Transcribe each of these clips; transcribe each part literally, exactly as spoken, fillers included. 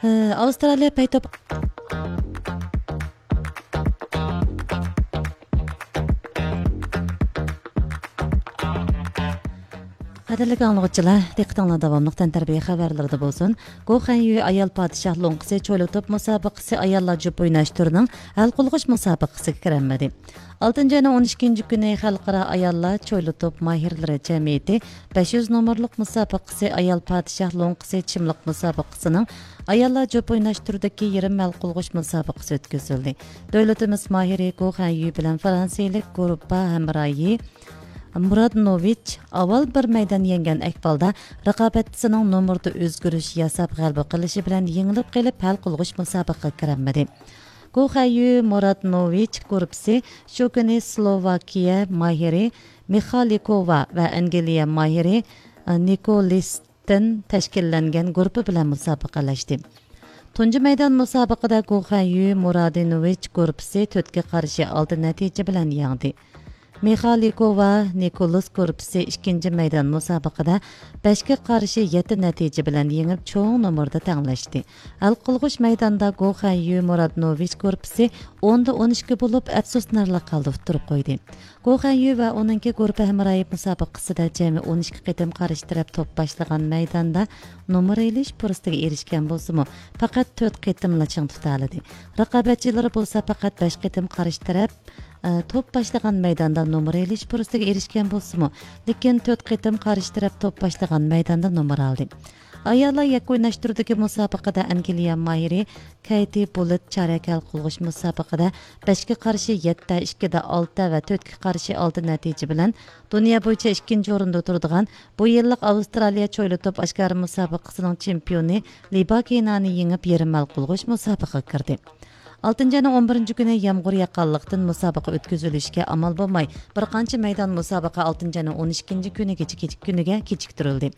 ھە، ئاۋسترالىيە پەيتوپ. قەدىرلىك ئاڭلىغۇچىلار، دىققىتىڭلار داۋاملىق تەنتەربىيە خەۋەرلىرىدە بولسۇن. گو خەنيۈ ئايال پادىشاھ لوڭقىسى چويلا توپ مۇسابىقىسى ئاياللار جۈپ ئويناش تۈرىنىڭ ھەل قىلغۇچ مۇسابىقىسىگە كىرەلمىدى. ئالتىنچى ئاينىڭ ئون ئىككىنچى كۈنى خەلقئارا ئاياللار چويلا توپ ماھىرلىرى جەمئىيىتى بەش يۈز نومۇرلۇق مۇسابىقىسى ئايال پادىشاھ لوڭقىسى چىملىق مۇسابىقىسىنىڭ ئاياللار جۈپ ئويناش تۈرىدىكى يېرىم ھەل قىلغۇچ مۇسابىقىسى ئۆتكۈزۈلدى. دۆلىتىمىز ماھىرى گو خەنيۈ بىلەن فرانسىيىلىك گۇرۇپپا ھەمراھى مۇرادنوۋىچ ئاۋۋال بىر مەيدان يەڭگەن ئەھۋالدا، رىقابەتچىسىنىڭ نومۇردا ئۆزگىرىش ياساپ غەلىبە قىلىشى بىلەن يېڭىلىپ قېلىپ، ھەل قىلغۇچ مۇسابىقىگە كىرەلمىدى. گو خەييۈ مۇرادنوۋىچ گۇرۇپپىسى شۇ كۈنى سلوۋاكىيە ماھىرى مىخالىكوۋا ۋە ئەنگلىيە ماھىرى نىكولىستىن تەشكىللەنگەن گۇرۇپپا بىلەن مۇسابىقىلەشتى. تۇنجى مەيدان مۇسابىقىدە گو خەييۈ مۇرادنوۋىچ گۇرۇپپىسى تۆتكە قارشى ئالتە نەتىجە بىلەن يەڭدى. مىخالىكوۋا نىكولىس گۇرۇپپىسى ئىككىنچى مەيدان مۇسابىقىدە بەشكە قارشى يەتتە نەتىجە بىلەن يېڭىپ، چوڭ نومۇردا تەڭلەشتى. ھەل قىلغۇچ مەيداندا گو خەييۈ مۇرادنوۋىچ گۇرۇپپىسى ئوندا ئون ئىككى بولۇپ، ئەپسۇسلىنارلىق ھالدا ئۇتتۇرۇپ قويدى. گو خەييۈ ۋە ئۇنىڭكى گۇرۇپپا ھەمراھى مۇسابىقىسىدە جەمئىي ئون ئىككى قېتىم قارشى تەرەپ توپ باشلىغان مەيداندا نومۇر ئېلىش پۇرسىتىگە ئېرىشكەن بولسىمۇ، پەقەت تۆت قېتىملا چىڭ تۇتالىدى. رىقابەتچىلىرى بولسا پەقەت بەش قېتىم قارشى تەرەپ ئە، توپ باشلىغان مەيداندا نومۇر ئېلىش پۇرسىتىگە ئېرىشكەن بولسىمۇ، لېكىن تۆت قېتىم قارشى تەرەپ توپ باشلىغان مەيداندا نومۇر ئالدى. ئاياللار يەككە ئويناش تۈرىدىكى مۇسابىقىدە ئەنگلىيە ماھىرى كەيتى بۇلىت چارەك ھەل قىلغۇچ مۇسابىقىدە بەشكە قارشى يەتتە، ئىككىدە ئالتە ۋە تۆتكە قارشى ئالتە نەتىجە بىلەن دۇنيا بويىچە ئىككىنچى ئورۇندا تۇرىدىغان بۇ يىللىق ئاۋسترالىيە چويلا توپ ئاشكارا مۇسابىقىسىنىڭ چېمپىيونى لىباكىنانى يېڭىپ، يېرىم ھەل قىلغۇچ مۇسابىقىگە كىردى. ئالتىنچى ئاينىڭ ئون بىرىنچى كۈنى يامغۇر ياغقانلىقتىن، مۇسابىقە ئۆتكۈزۈلۈشكە ئامال بولماي، بىر قانچە مەيدان مۇسابىقە ئالتىنچى ئاينىڭ ئون ئىككىنچى كۈنىگىچە كېچىك-، كۈنىگە كېچىكتۈرۈلدى.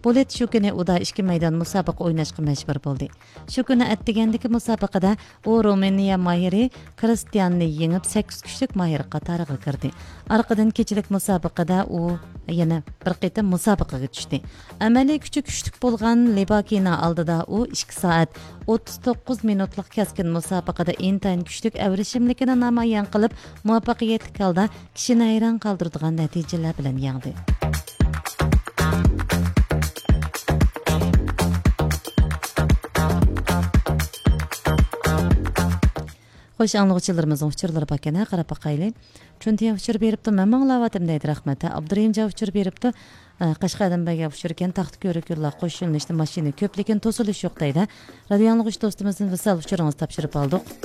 بۇلىت شۇ كۈنى ئۇدا ئىككى مەيدان مۇسابىقە ئويناشقا مەجبۇر بولدى. شۇ كۈنى ئەتىگەندىكى مۇسابىقىدە ئۇ رومىنىيە ماھىرى كرىستىياننى يېڭىپ، سەككىز كۈچلۈك ماھىر قاتارىغا كىردى. ئارقىدىن كېچىلىك مۇسابىقىدە ئۇ يەنە بىر قېتىم مۇسابىقىگە چۈشتى. ئەمەلىي كۈچى كۈچلۈك بولغان لىباكىنا ئالدىدا ئۇ ئىككى سائەت ئوتتۇز توققۇز مىنۇتلۇق كەسكىن مۇسابىقىدە ئىنتايىن كۈچلۈك ئەۋرىشىملىكىنى نامايان قىلىپ، مۇۋەپپەقىيەتلىك ھالدا كىشىنى ھەيران قالدۇرىدىغان نەتىجىلەر بىلەن يەڭدى. خوش، ئاڭلىغۇچىلىرىمىزنىڭ ئۇچۇرلىرى باركەن، ھە، قاراپ باقايلى. چۈنتىيا ئۇچۇر بېرىپتۇ، مەن ماڭلاۋاتىم دەيدۇ، رەھمەت. ھە، ئابدۇرېھىمجان ئۇچۇر بېرىپتۇ، ئە، قەشقەردىن بەرگەن ئۇچۇر ئىكەن، تاختا كۆۋرۈك يوللار قوش يۆنىلىشتە ماشىنا كۆپ، لېكىن توسۇلۇش يوق دەيدۇ. رادىيو ئاڭلىغۇچى دوستىمىزدىن ۋىسال ئۇچۇرىڭىزنى تاپشۇرۇپ ئالدۇق.